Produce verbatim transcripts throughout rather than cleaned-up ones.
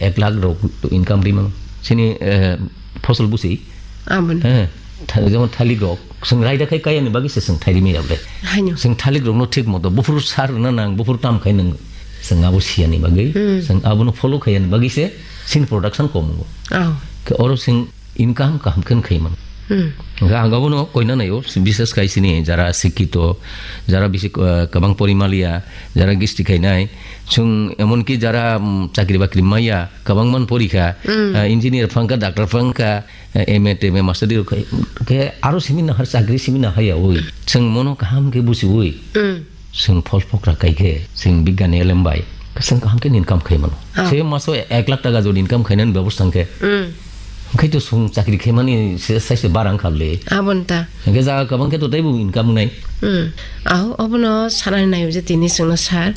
ek lakh rok income ri mano. Sini, eh, phosol busi. Aboni. Eh, tha-, jemon thalik rok, chwng raida khai kaya ni bagwi se chwng thairi maya ble. Haino. Chwng thalik rokno thik moto buphuru sar rwna nang, buphuru tam khai nang. Chwng abo siya ni bagwi, Hmm. chwng abono follow khaya ni bagwi se sini production kom wngo. Oh. Khe oro chwng income kaham khe khai mano. Hmm. Hingke ang abono koina naio, bises khai sini jara sikito, jara bisi, eh, kabang pori maliya, jara gisti khainai, chwng emonki jara, mm, chakri bakri maya, kabang man porikha, Hmm. eh, engineer phangkha, doctor phangkha, eh, M A, T M A, master degree khai, khe aro simi nahar chakri simi nahaya oi. Chwng mono kaham khe busi oi. Hmm. Chwng phol phokra kai khe, chwng bigyani elem bai, chwng kaham khe income khai mano. Ah. Se maso ek lakh taka jodi income khainani bebosta hwnkhe, Mm. hwnkhe to chwng chakri khaimani se saise barang kha le. Aboni ta. Hwnkhe jaga kwbang khe to teibo income wngnai. Mm. Aho, obono sanani naio je tini chwngno sar.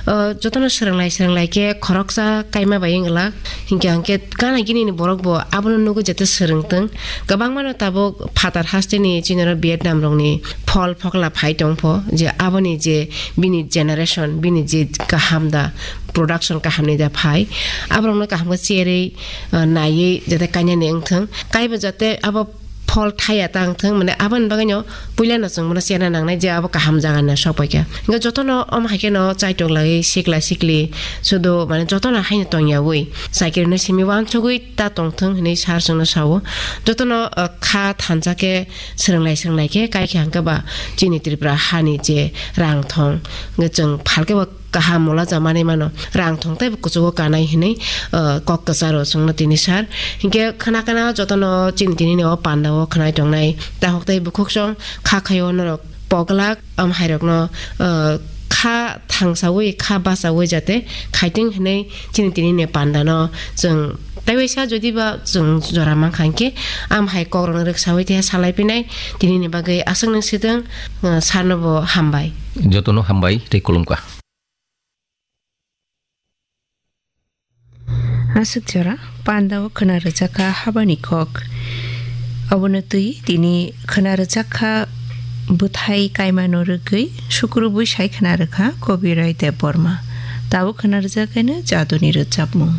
O, jotono swrwnglai swrwnglai khe khoroksa kaima bai wng glak. Hinkhe hwnkhe gana gini ni borok bo abono nugwi jete swrwng tong. Kwbangmano tabuk phatar hasteni chini oro Vietnam rokni phol phokla phai tong pho, je aboni je bini generation, bini je kaham da, production kaham ni da phai, aborokno kaham khe cherwi, uh, naiwi jate kanya ni wngthung, kaibo jate abo phol thaya ta wngthung, mane aboni bagwi no puila no chwng bono chena nangnai je abo kaham jaga ni sok paikha. Hingke jotono omo hai khe no chaitok lagwi sikla sikli sudu mane jotono haino tongya wi cycle no simi wansugwi ta tongthung hinwi sar chwngno sao. Jotono, uh, kha thansa khe swrwnglai swrwnglai khe kaikha hwnkhe ba chini Tripura hani je rang thong hwnkhe chwng phalkhe bo kaham mola jamani mano, rang thong tei bo kuchugo kanai hinwi, uh, kok kwcharo chwngno tini sar. Hinkhe khna khna jotono chini tini ni o panda o khnai tongnai tahok tei bukhuk song kha khaio norok poglak, am hairokno, uh, kha thangsawi, kha basawi jate khaiting hinwi chini tini ni panda no chwng tei waisa jodi ba chwng jora mankha hinkhe am hai kok rokno rwksawi tei salai pinai tini ni bagwi aswk nung sidwng, uh, sarno bo hambai. Jotono hambai tei khulumkha. Aswk jora panda o khna rwjakha habani kok. Abono twi tini khna rwjakha bwthai kaimano rwgwi sukrubwi sai khna rwkha Kobirai Debbarma. Tabuk khna rwjakhaino jaduni rwchapmung.